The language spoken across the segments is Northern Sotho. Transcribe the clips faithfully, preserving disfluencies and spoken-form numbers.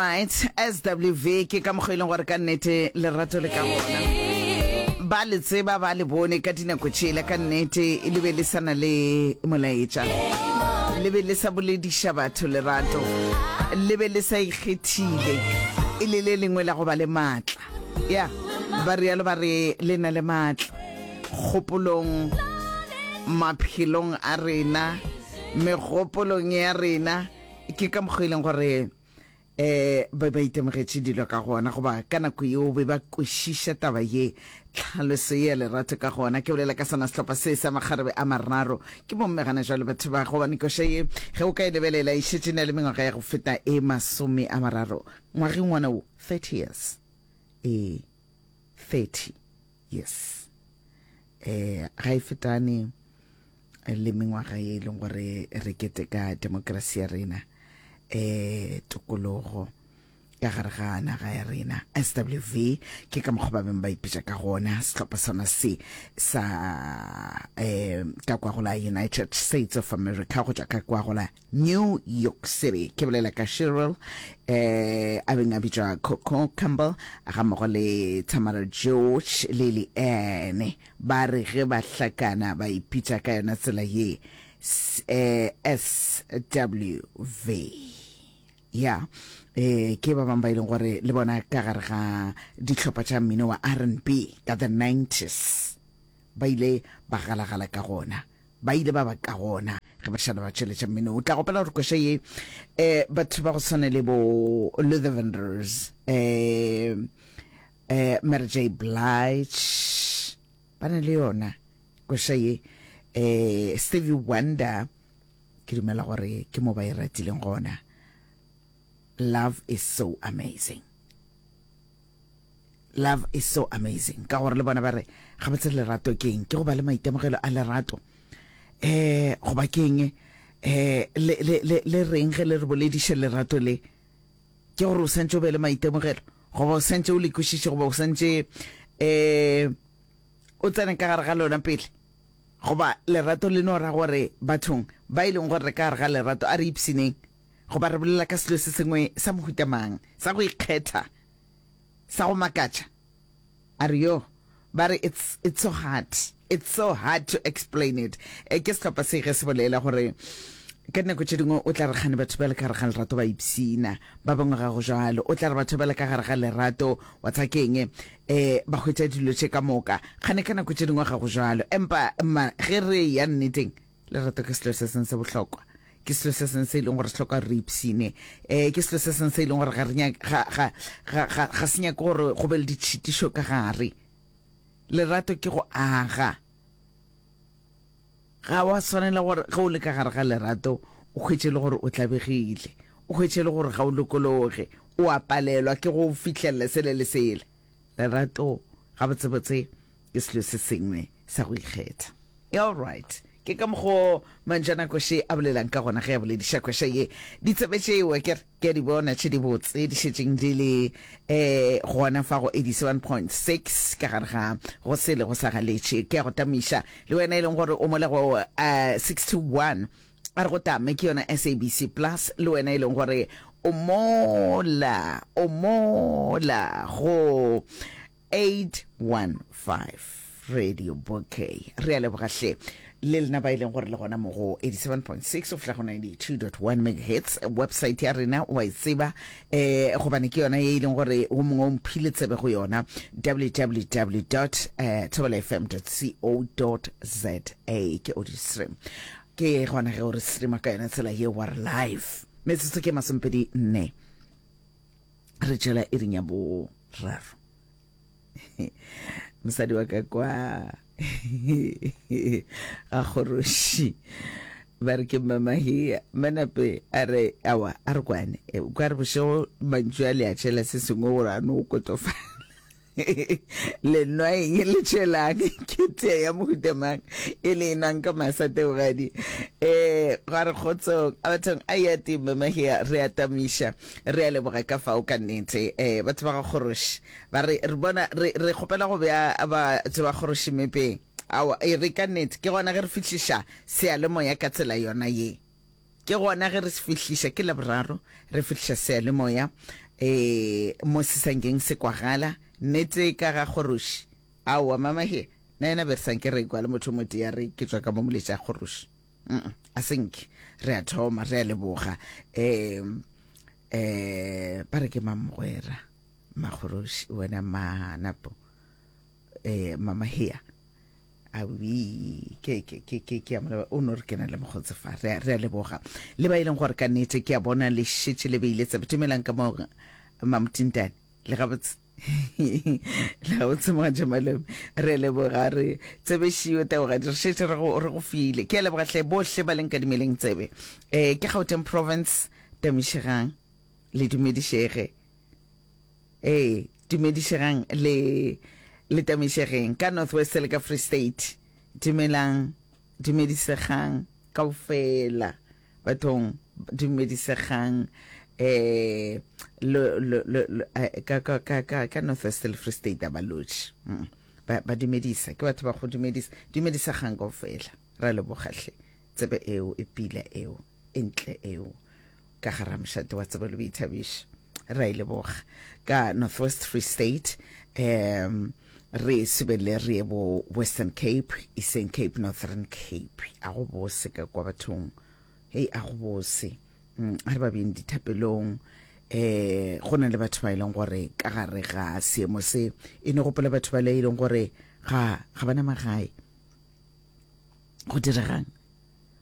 Alright, S W V, ke ka mokgwa e leng gore ka nnete lerato le ka gona. Ba le tseba, ba le bone ka dinako tšela, ka nnete le be le sa na le molaetša, le be le sa bolediša batho lerato, le be le sa ikgethile, e le le lengwe la go ba le maatla. Ya ba rialo, ba re le na le maatla kgopolong, maphelong a rena, megopolong ya rena. Ke ka mokgwa e leng gore eh ba ba itemogetše dilo ka gona, goba ka nako yeo be ba kwešiša taba ye, tlhaloso ye ya lerato ka gona. Ke bolela ka sona sehlopha se sa makgarebe a mararo, ke bomme gana jalo batho ba, gobane koša ye ge o ka e lebelela e šetše na le mengwaga ya go feta e masome a mararo ngwageng ngwana wo, thirty years, e thirty years, eh ga e fetane le mengwaga ye e leng gore re keteka demokrasi ya rena, eh tokologo ka gare ga naga ya rena. S W V ke ka mokgwa ba beng ba ipitša ka gona, sehlopha sona se sa eh ka kwa go la United States of America, go tšwa ka kwa go la New York City. Ke bolela ka Cheryl, eh a beng a bitšwa Coco Campbell, ga mmogo le Tamara George le Leanne. Ba re ge ba hlakana ba ipitša ka yona tsela ye, eh, S W V. Ya, eh ke ba bangwe ba e leng gore le bona ka gare ga dihlopha tša mmino wa R and B ka the nineties ba ile ba galagala ka gona, ba ile ba ba ka gona ge ba šala ba tšweletša mmino. O tla gopela gore koša ye, eh batho ba go tshwana le bo Luther Vandross, eh eh Mary J Blige ba na le yona koša ye, eh Stevie Wonder, ke dumela gore ke mo ba e ratileng gona. Love is so amazing, love is so amazing, ka gore le bona ba re ga ba tsebe lerato keng, ke go ba le maitemogelo a lerato, eh goba keng, eh le le le le reng ge le re bolediše lerato le, ke gore o santse o be le maitemogelo, goba o santse o le kwešiše, goba o santse eh o tsene ka gare ga lona pele, goba lerato le no ra gore bathong ba e leng gore re ka gare ga lerato a re ipshineng, goba re bolela ka selo se sengwe sa mohuta mang sa go ikgetha, sa go makatša. A re yo ba re it's, it's so hard, it's so hard to explain it. E ke sehlopha se ge se bolela gore ka dinako tše dingwe o tla re kgane batho ba le ka gare ga lerato ba ipshina, ba bangwe ga go jalo. O tla re batho ba le ka gare ga lerato wa tsa keng, um ba hwetša dilo tše ka moka, kgane ka nako tše dingwe ga go jalo. Empa ma ge re ya nneteng, lerato ke selo se seng se bohlokwa, ke selo se seng se e leng gore se hloka re ipshine, um ke selo se seng se e leng gore ga re ga ga ga ga ga se nyake gore go be le ditšhitišo ka gare. Lerato ke go aga. Ga wa swanela gore ge o le ka gare ga lerato o hwetše le gore o tlabegile, o hwetše le gore ga o lokologe, o a palelwa ke go fihlelela sele le sele. Lerato gabotsebotse ke selo se sengwe sa go ikgetha. All right, ke ka mokgo mantšana koše a bolelang ka gona ge a bolediša koša ye. Ditsebe tšeo ke ke a di bona tše di botse di šetšeng di le um gona fa go eighty-seven point six ka gare ga go sele go sa galetše. Ke ya go tamiša le wena e leng gore o mole go uh, six two one, a re go tame, ke yona S A B C Plus, le wena e leng gore o mola o mola go eight one five Radio Bouquet. Re a lebogahle le lena ba e leng gore le gona mo go eighty-seven point six go fihla go ninety-two point one megahertz. Website ya rena wa e tseba, eh gobane ke yona ye e leng gore o mongwe o mphile tsebe go yona, W W W thobelafm co za, ke audio stream, ke gona ge o re streama ka yona tsela ye wa re live. Metsotso ke masomepedi nne re tšela iring ya boraro. Mosadi wa ka kwa ga kgoroši ba re ke Mmamahia manape, a re awa, a re kwane ka re bošego mantšu a le a tšhela se sengwe gore a no kotofala. Le nwa eng? Le tšhelang? Ke tea ya mohuta mang e le enwang ka masateogadi? um gwa re kgotsong a bathong a ya teng Mmamahia, re a tamiša, re a leboga ka fao ka nnete. um batho ba ga kgoroši ba re re bona re re kgopela go bea batho ba kgoroši mepeng. Aowa, e re ka nnete ke gona ge re fihliša seyalemoya ka tsela yona ye, ke gona ge re se fihliša, ke Laboraro re fihliša seyalemoya. Eh mo se sankeng se kwagala nnete ka ga kgoroši. Aowa mama he, na yena be re sanke re kwa le motho motee a re ke tšwa ka mo moletša kgoroši. Mm a senke re a thoma re a leboga. Eh eh ba re ke mamogwera makgoroši wena manapo eh mama hea awi ke ke ke ke ke a mo o no re ke na le mokgotse fa re re a leboga le ba e leng gore ka nnete ke a bona le šetše le beile tsebe dumelang ka mo mamotintane le gabotse le gabotse mogatša malome re a leboga re tsebešiwe taogadi re šetše re go re go file ke a leboga hle bohle ba leng kadimeleng tsebe um ke Gauteng province tamišegang le dumedišege ee dumedišegang le le tamišegeng ka North West le ka Free State dumelang dumedisegang kaofela bathong dumedisegang eh lo lo lo ka ka ka ka ka North West le Free State a ba lotšhe mm. ba ba dumedisa ke batho ba go dumedisa dumedisegang kaofela ra leboga hle tsebe eo e pila eo e ntle eo ka gara mošate wa tsebo le boithabišo ra e leboga ka North West Free State um re sebele re ye bo Western Cape Eastern Cape Northern Cape a go bose ka kwa bathong hei a go bose mm, a re ba beng dithapelong eh go na le batho ba e leng gore ka gare ga seemo se e ne gopola batho ba le e leng gore ga ga bana magae go diregang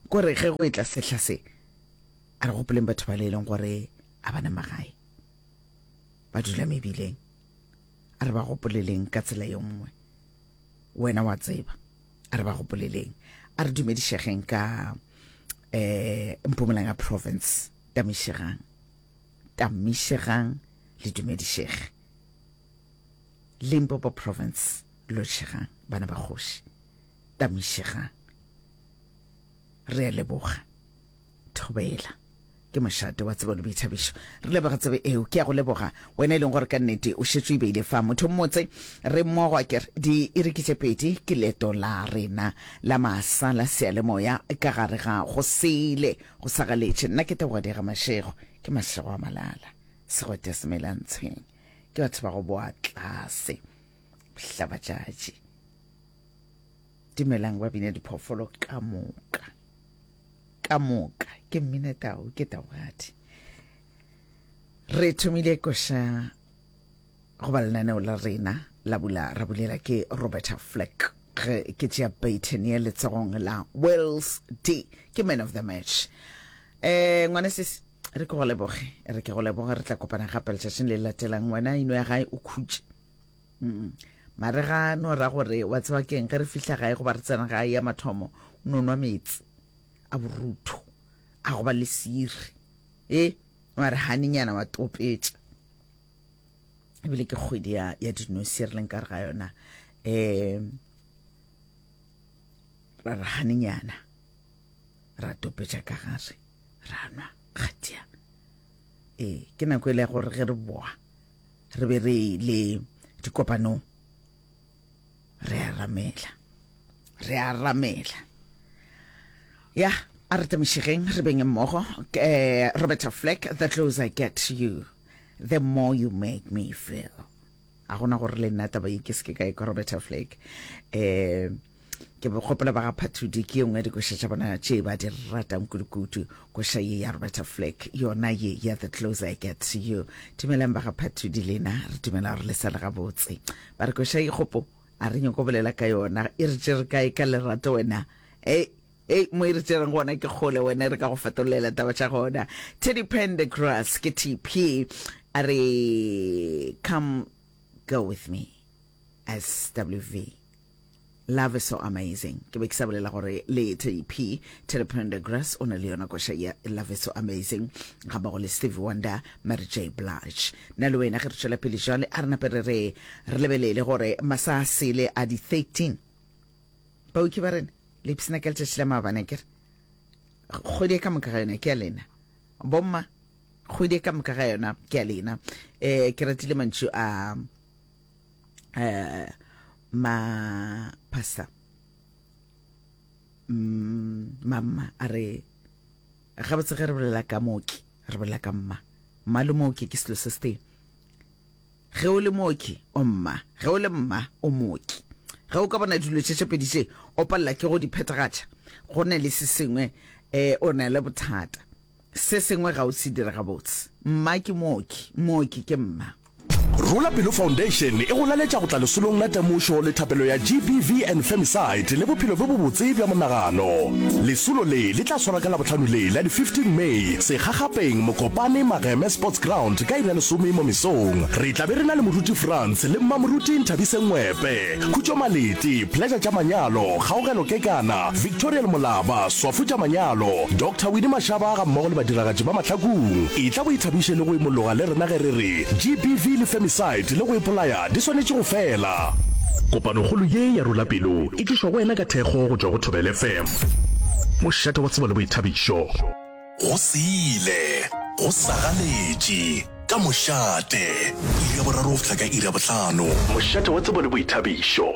kore ge go etla sehla se a re gopoleng batho ba le e leng gore a bana magae ba dula mebileng a re ba gopoleleng ka tsela ye nngwe wena wa tseba a re ba gopoleleng a re dumedišegeng ka eh Mpumalanga province tamišegang tamišegang le dumedišege Limpopo province lotšhegang bana ba kgoši tamišegang re a leboga thobela ke mošate wa tsebo le boithabišo re leboga tsebe eo ke ya go leboga wena e leng gore ka nnete o šetše o e beile fa motho mmotse re mmogo a kere di iri ke tše pedi ke leeto la rena la masa la seyalemoya ka gare ga go sele go sa galetše nna ke teboga ga mašego ke mašego a malala segwete semelantshweng ke batho ba go boa tlase bohlabatšatši dumelang ba bina diphoofolo ka moka ka moka ke mmina tau ke taugadi re thomile koša goba lenaneo la rena la bula ra bulela ke Roberta Flack ge ke tšea baton ye letsogong la Wales D ke man of the match eh ngwane sesi re ke go leboge re ke go leboge re tla kopana gape letšatšing le latelang wena ino ya gae o khutše mm. mare ga no ra gore wa tseba keng ge re fihla gae goba re tsena gae ya mathomo o no nwa meetse a borutho a go ba le siri e wa re hanenyana wa topetša ebile ke kgwedi ya, ya dinosi re leng ka re ga yona um ra re hanenyana ra topetša ka gare ra nwa kgatia ee ke nako e le ya gore ge re boa re be re le dikopanong re a ramela re a ramela ya a re tamišegeng re beng mmogo eh, Roberta Flack the closer I get to you the more you make me feel a gona gore le nna taba ye ke se ke ka e kwa Roberta Flack eh ke be gopola ba ga phathudi ke ye nngwe ya dikoša tša bona tše ba di ratang kudukudu koša ye ya Roberta Flack yona ye ya the closer I get to you dumelang ba ga phathudi lena re dumela gore le sa le gabotse ba re koša ye kgopo a re nyako bolela ka yona e re tšere kae ka lerato wena e e mo e re tšereng gona ke kgole wena re ka go fetolela taba tša gona Teddy Pendergrass ke T P a re come go with me S W V Love is so amazing ke be ke sa bolela gore le Teddy P Teddy Pendergrass o na le yona koša ya Love is so amazing ga mmogo le Stevie Wonder Mary J Blige nna le wena ge re tšwela pele jwale a re nape re re re lebelele gore masa a sele a di thirteen baoki ba rena le ipsina ka letšatši la maabane kere kgwedi e ka moka ga yona ke ya lena bomma kgwedi e ka moka ga yona ke ya lena um ke ratile mantšu a um ma pastor mm, mamma a re gabotse ge re bolela ka mooki re bolela ka mma mma le mooki ke selo se setee. Ge o le mooki, o mma. Ge o le mma, o mooki. Ge o ka bona dilo tše tše pedi tše o palela ke go di phethagatša, go na le se sengwe, um o na le bothata. Se sengwe ga o se dire gabotse. Mma ke mooki, mooki ke mma. Rola Pelo Foundation e go laletša go tla lesolong la temošo le thapelo ya G B V and Femicide le bophelo bjo bobotse bja monagano. Lesolo le le tla swarwa ka Labohlano le la di fifteen May, Sekgakgapeng, Mokopane, Mageme Sports Ground ka iri ya lesome mo mesong. Re tla be re na le Moruti Frans le Mmamoruti Nthabiseng Ngwepe, Khutšo Malete, Pleasure tša Manyalo, Kgaogelo Kekana, Victorial Molaba, Swafu tša Manyalo, Doctor Winnie Mashaba gammogo le badiragatši ba Mahlakung. Etla o ithabiše le go imologa le rena ge re re G B V le Femicide le go ipolaya di swanetše go fela. Kopanokgolo ye ya Rola Pelo e tlišwa go wena ka thekgo go tšwa go Thobela F M, mošate wa tsebo le boithabišo. Go sile, go sagaletše, ka mošate, iri ya boraro go fihla ka iri ya bohlano. Mošate wa tsebo le boithabišo.